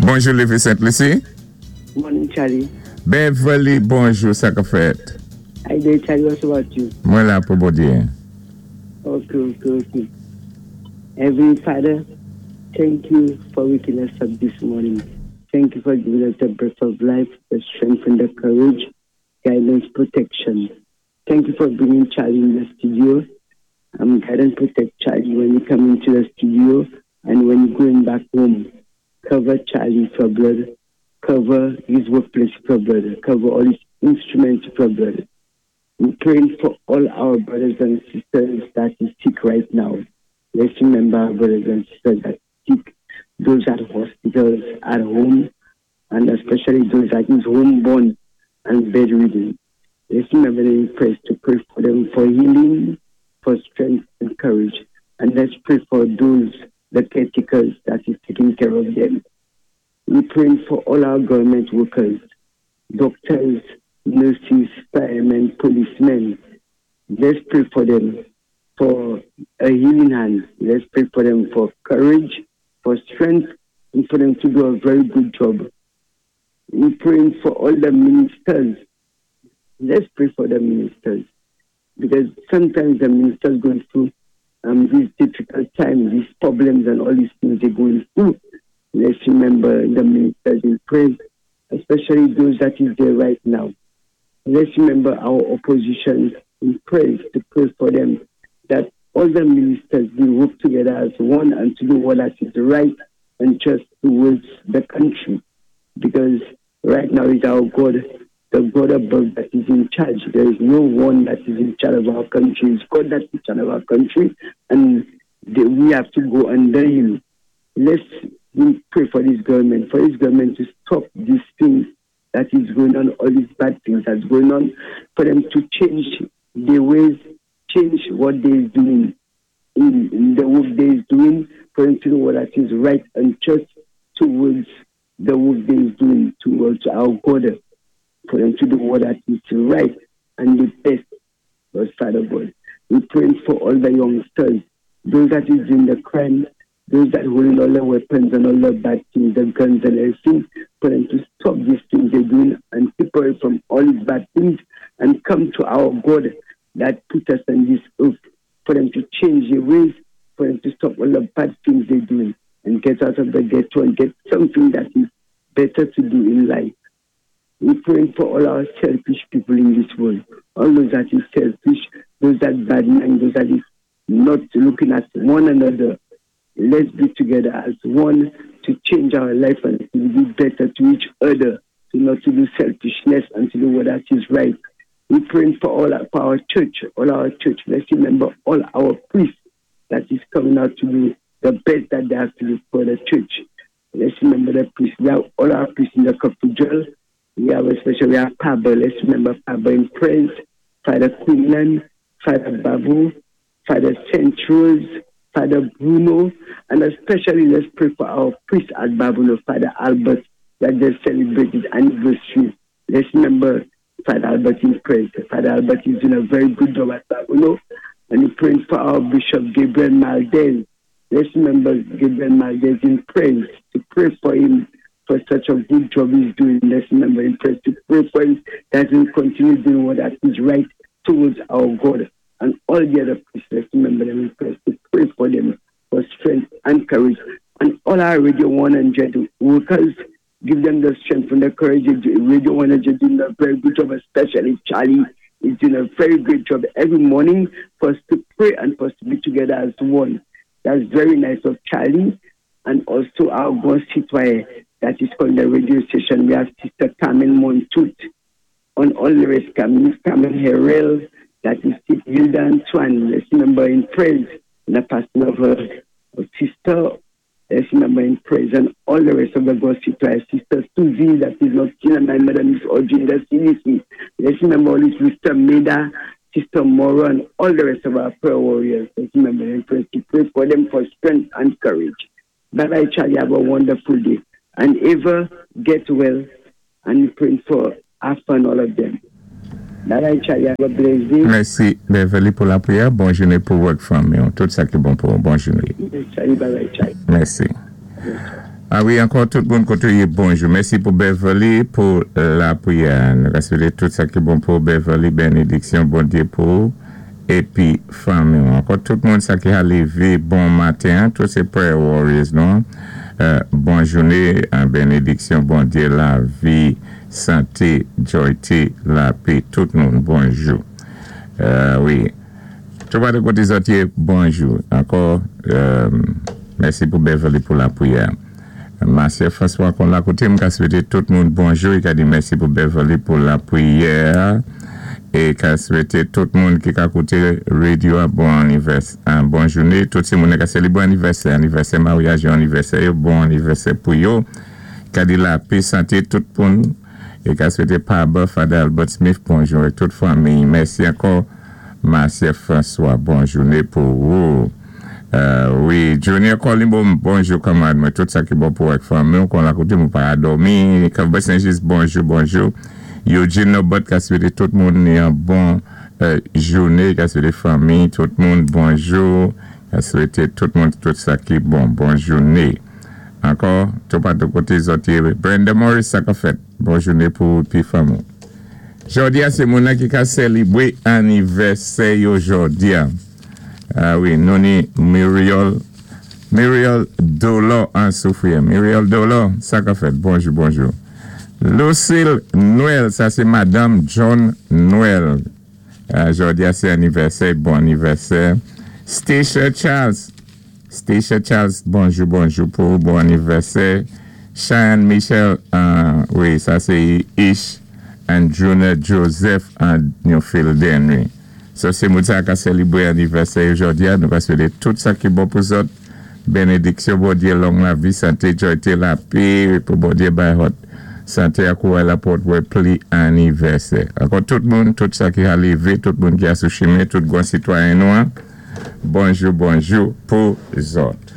Bonjou Lévi Sent Lisi. Morning Charlie. Beverly bonjou sa k ap fèt? How you doing Charlie what's about you? Mwen la pou Bondyé. Ok. Heavenly Father, thank you for waking us up this morning. Thank you for giving us the breath of life, the strength and the courage, guidance, protection. Thank you for bringing Charlie in the studio. Guide and protect Charlie when you come into the studio and when you're going back home. Cover Charlie for blood. Cover his workplace for blood. Cover all his instruments for blood. We're praying for all our brothers and sisters that is sick right now. Let's remember our brothers and sisters that sick, those at hospitals, at home, and especially those that is homeborn and bedridden. Let's remember them in prayer to pray for them for healing, for strength and courage. And let's pray for those, the caretakers that is taking care of them. We're praying for all our government workers, doctors, nurses, firemen, policemen. Let's pray for them for a healing hand. Let's pray for them for courage, for strength, and for them to do a very good job. We're praying for all the ministers. Let's pray for the ministers, because sometimes the ministers going through these difficult times, these problems and all these things they're going through. Let's remember the ministers in prayer, especially those that is there right now. Let's remember our opposition in prayer, to pray for them, that all the ministers will work together as one and to do what that is right and just towards the country. Because right now is our God, the God above that is in charge. There is no one that is in charge of our country. It's God that is in charge of our country, and we have to go under him. Let's pray for this government, for this government to stop these things that is going on, all these bad things that's going on, for them to change their ways, change what they're doing, in the work they're doing, for them to know what that is right and just towards the work they're doing, towards our God, for them to do what that is right and the best for Father God. We pray for all the youngsters, those that is in the crime, those that holding all the weapons and all the bad things, the guns and everything, for them to stop these things they're doing and keep away from all these bad things and come to our God that put us on this earth, for them to change their ways, for them to stop all the bad things they're doing and get out of the ghetto and get something that is better to do in life. We're praying for all our selfish people in this world, all those that is selfish, those that bad mind, those that is not looking at one another. Let's be together as one to change our life and to be better to each other, to not to do selfishness and to do what that is right. We're praying for all our, for our church, all our church. Let's remember all our priests that is coming out to do the best that they have to do for the church. Let's remember the priests. We have all our priests in the cathedral. We have especially we have Pablo. Let's remember Pablo in prayers, Father Quinlan, Father Babu, Father Centros, Father Bruno, and especially let's pray for our priest at Babonneau, Father Albert, that just celebrated anniversary. Let's remember Father Albert in prayers. Father Albert is doing a very good job at Babonneau, and we pray for our Bishop Gabriel Maldez. Let's remember Gabriel Maldez in prayers, to pray for him for such a good job he's doing. Let's remember in prayers to pray for him that he will continue doing what that is right towards our God. And all the other priests, let's remember them in prayers, to pray for them for strength and courage. And all our Radio 100 workers, give them the strength and the courage. Radio 100 doing a very good job, especially Charlie is doing a very great job every morning for us to pray and for us to be together as one. That's very nice of Charlie. And also our God Citoyen, that is called the radio station. We have Sister Carmen Montoute on all the rest, Carmen, Carmen Herrell, that is Hilda Antoine. Let's remember in praise the passing of her sister. Let's remember in praise and all the rest of the God Citoyen. Sister Susie, that is not still, and my mother, Miss Audrey, the CDC. Let's remember all this, Sister Meda, Sister Mora, and all the rest of our prayer warriors. Let's remember in praise to pray for them for strength and courage. Bye-bye, Charlie. Have a wonderful day. And ever get well and pray for have fun, all of them. Bye-bye, Charlie. Have a blessed day. Mèsi, Beverly, pou lapriyè. Bon jounen pou ou ak fanmi. Tout sa ki bon pou ou. Bon jounen. Charlie, bye-bye, Charlie. Mèsi. A wi, ankò tout moun koté ou yé, bonjou. Mèsi pou Beverly pou lapriyè. Nou ka swété tout sa ki bon pou Beverly, bénédiksyon Bondyé pou ou épi fanmi. Ankò tout moun sa ki ka lévé bon maten, tout sé prayer warriors nou. Bon jouné, bénédiksyon Bondyé, lavi, santé, jòyté, lapè, tout moun, bonjou. Wi. Tout pa de koté zòt yé, bonjou. Ankò, mèsi pou Beverly pou lapriyè. Marcia François kon la koté, m ka swété tout moun bonjou, i ka di mèsi pou Beverly pou lapriyè é ka swété tout moun ki ka kouté radyo a bon anivèsè, bon jouné, tout sé moun ka sélébré anivèsè, anivèsè maryaj, anivèsè, bon anivèsè pou yo. Ka di lapè, santé tout moun é ka swété Paba, Father Albert Smith, bonjou ak tout fanmi. Mèsi ankò Marcia François, bon jouné pou ou. Wi, Junior Colimbo, bonjou kanmarad mwen, tout sa ki bon pou ak fanmi, kon la koté mwen pa dòmi, Cowboy Saint-Just, bonjou, bonjou. Eugene Nobot, ka swété tout moun yon bon jouné, ka swété fanmi, tout moun, bonjou, ka swété tout moun tout sa ki bon, bon jouné. Ankò, tout pa de koté zòt yé, Brenda Morris, sa ka fèt, bon jouné pou pi fanmi. Jòdi a, sé moun ki ka sélébré anivèsè yo jòdi a. A wi, nou ni Muriel, Muriel Dolo an Soufrière. Muriel Dolo, sa ka fèt. Bonjou, bonjou. Lucille Noël, sa sé Madanm John Noël. Jòdi a, sé anivèsè, bon anivèsè. Stacia Charles, Stacia Charles, bonjou, bonjou pou bon anivèsè. Cheyenne Michel, wi, sa sé Ish and Junior Joseph and Newfield Henry. Sa sé moun sa ka sélébré anivèsè jòdi a, nou ka swété tout sa ki bon pou zòt. Bénédiksyon Bondyé, long lavi, santé, jòyté, lapè, pou Bondyé bay zòt. Santé ak kouray la pou wè pli anivèsè. Ankò tout moun, tout sa ki ka lévé, tout moun ki a sou chimen, tout gran sitwayen nou. Bonjou, bonjou pou zòt.